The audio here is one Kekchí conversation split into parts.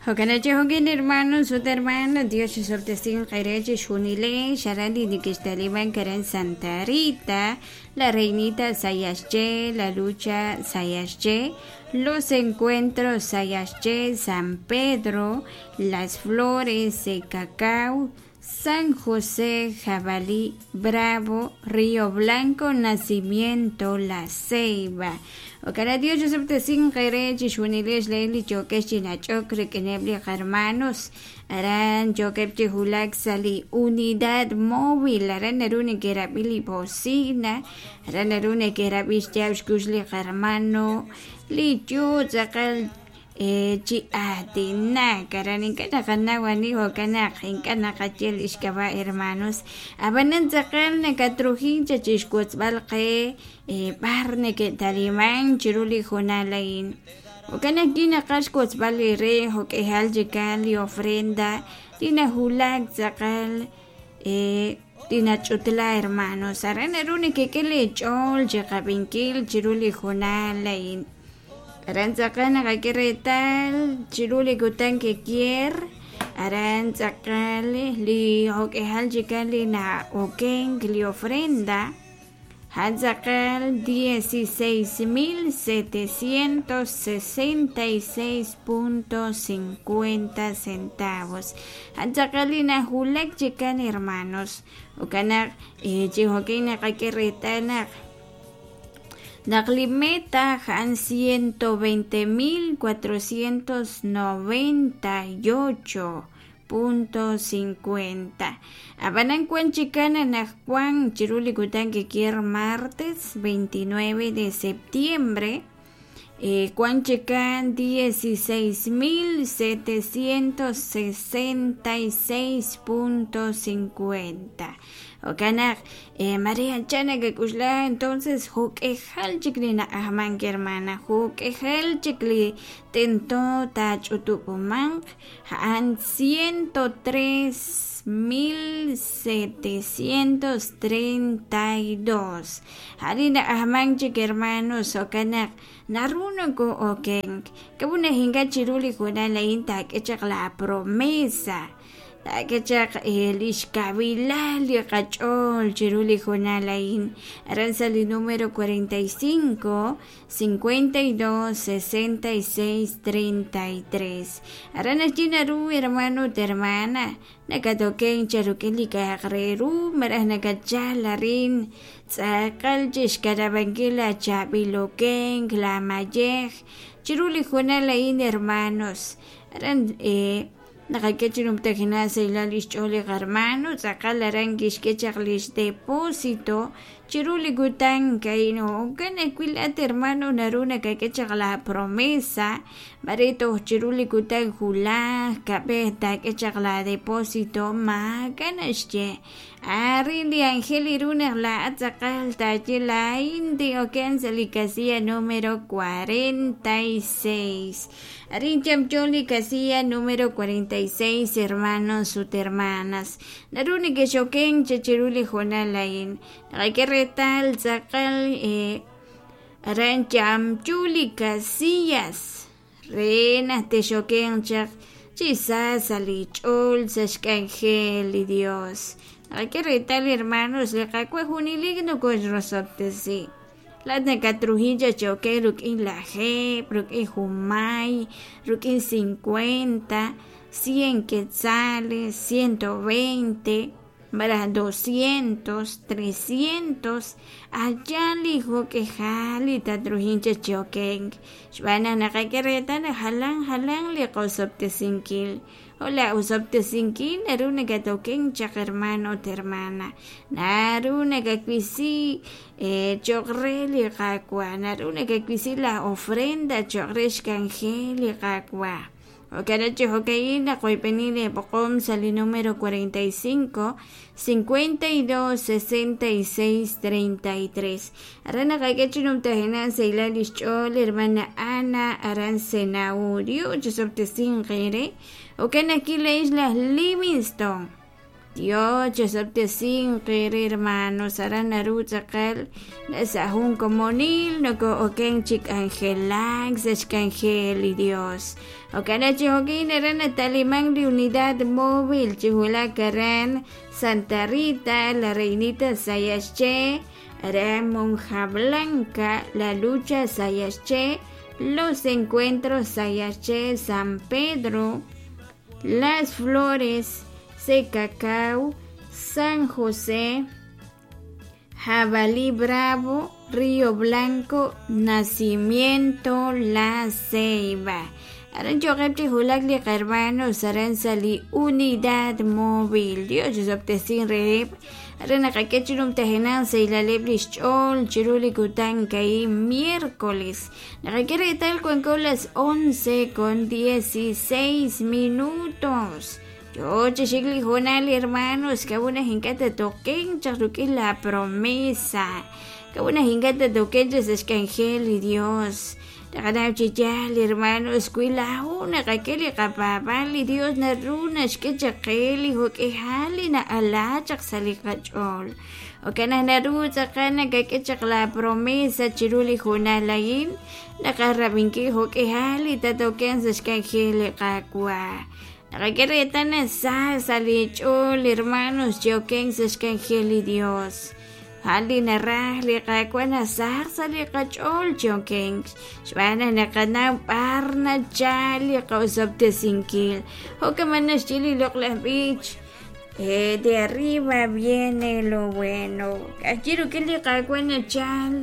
Jo'kan chi hermanos ut hermanas, Dios xsobtesin qere chixjunilex aran li nekextaliman aran Santa Rita, la Reinita Sayaxché, la Lucha Sayaxché, los Encuentros Sayaxché, San Pedro, las Flores de Cacao, San José, Jabalí, Bravo, Río Blanco, Nacimiento, La Ceiba. Okara Dios xsobtesin qere chixjunilex li yokex chi nach'ok rik'ineb' li hermanos aran yokeb' chi wulak sa' li unidad móvil aran naru neke'rab'i li bocina aran naru neke'rab'i xyaab' xkux li hermano li yoo tz'aqal chi aatinak aran ink'a' naqanaw ani jo'kan naq ink'a' naqaye li xk'ab'a' hermanos ab'anan tz'aqal nakatrujin cha chixwotzb'al qe b'ar neke'taliman chiru li jonal a'in jo'kan ajwi' naqaj xwotzb'al li re jo'k'ejal chikan li ofrenda li najulak tz'aqal li nach'utla hermanos aran naru nekek'e leech'ool chiqab'inkil chiru li jonal a'in aran tz'aqal naqak'e reetal chiru li kutan kekier aran tz'aqal li jo'k'ejal chikan li na'okenk li ofrenda a'an tz'aqal 16,766.50 centavos a'an tz'aqal li najulak chikan hermanos jo'kan naq chi jo'kan naqak'e reetal naq naq li meta a'an 120,498.50 ab'anan wan chikan anaqwan chiru li kutan kekier martes 29 de septiembre wan chikan 16,766.50 jo'kan naq Maria ancha nakak'uxla entonces jo'k'ejal chik li na'ajmank hermana jo'k'ejal chik li tento taach'utub'umanq a'an 103,732 a'an li na'ajmank chik hermanos jo'kan naq naru noko'okenk k'a'ut naq ink'a' chiru li jonal a'in taak'e chaq la promesa taak'e chaq li xkawilal li qach'ool chiru li jonal a'in aran sa' li número 45 52 66 33 aran naxye naru hermano ut hermana nakatoken cha rik'in li k'a'aq re ru malaj nakatchal arin tz'aqal chixkanab'ankil la chaab'il okenk la mayej chiru li jonal a'in hermanos aran naqak'e chi numtajenaq sa' li xch'ool li hermano tz'aqal aran kixk'e chaq li xdepósito chiru li kutan a'in jo'kan ajwi' laat hermano naru nakak'e chaq la promesa mare toj chiru li kutan julaj kab'ej taak'e chaq la depósito maak'a' naxye arin li ángel iru naq laa'at tz'aqal taaye laa'in tin'oken sa' li casilla número 46 arin yamyo li casilla número 46 hermanos ut hermanas naru nekexoken cha chiru li jonal a'in naqak'e reetal tz'aqal aran yamyu li casillas re naq texokenq chaq chi sa sa' li ch'ool sa' xk'anjel li Dios naqak'e reetal hermanos li Qaawa' junelik nokoxrosob'tesi laat nakatrujin cha chi oken rik'in lajeeb' rik'in junmay rik'in 50 100 quetzales 120 malaj 200 300 allá li jo'k'ejal li tatrujin cha chi okenk xb'aan naq naqak'e reetal naq jalan jalan li qosob'tesinkil Hola osob'tesinkil naru nakatoken chaq hermano ut hermana naru nakawisi cho'q re li Qaawa' naru nakawisi la ofrenda cho'q re xk'anjel li Qaawa' jo'kan chi jo'ka'in naqoyb'eni leeb'oqom sa' li número 45 52 66 33 aran naqak'e chi numtajenaq sa' li xch'ool hermana Ana aran Senaurio chi sob'tesinq eere jo'kan ajwi' la'ex laj Livingston. Dios chisob'tesinq eere hermanos, aran naru tz'aqal sa' jun komonil noko'oken chi k'anjelak sa' xk'anjel li Dios. Jo'kan chi jo'kin aran nataliman li unidad móvil chi wulak aran Santa Rita, La Reinita Sayaxché, aran Monja Blanca, La Lucha Sayaxché, Los Encuentros Sayaxché, San Pedro, Las Flores, Cacao, San José, Jabalí Bravo, Río Blanco, Nacimiento, La Ceiba. Aran yo'qeb' chi wulak li qahermanos aran sa' li unidad móvil. Dios chisob'tesin reheb'. Aran naqak'e chi numtajenaq sahilaleb' lix ch'ool chiru li kutan ka'in miércoles. Naqak'e reetal wanko las 11 con 16 minutos. Yo chi xik li hoonal hermanos k'a'ut naq ink'a' tatoken chaq rik'in la promesa. K'a'ut naq ink'a' tatoken chaq sa' xk'anjel li Dios. Taqanaw chi yaal hermanos wi laa'o naqak'e li qapaab'aal li Dios naru naxk'e chaq qe li jo'k'ihal li na'ala chaq sa' li qach'ool. Jo'kan naq naru tz'aqal nakak'e chaq la promesa chiru li hoonal a'in naqaj rab'inkil jo'k'ihal li tatoken sa' xk'anjel li Qaawa'. Naqak'e reetal naq sa sa' li ch'ool hermanos chi okenk sa' xk'anjel li Dios. A'an li naraj li Qaawa' nasaq sa' li qach'ool chi okenk xb'aan naq naqanaw b'ar nachal li qosob'tesinkil. Jo'kan naxye li loq'laj b'ich. De arriba viene lo bueno. K'ayi rik'in li Qaawa' nachal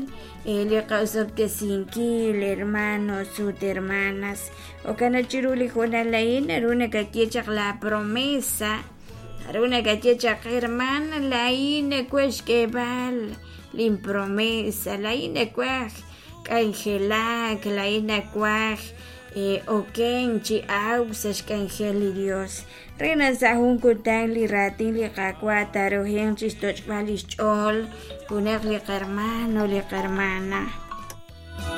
li qosob'tesinkil, hermanos ut hermanas. Jo'kan chiru li hoonal a'in naru nakaye chaq la promesa. Naru nakaye chaq hermana laa'in nawaj xk'eeb'al lin promesa, laa'in nawaj k'anjelak, laa'in nawaj okenk chi awk sa' xk'anjel li Dios. Re naq sa' jun kutan li raatin li Qaawa' taarujenq chixtoch'b'al lix ch'ool junaq li qarmano li qarmana.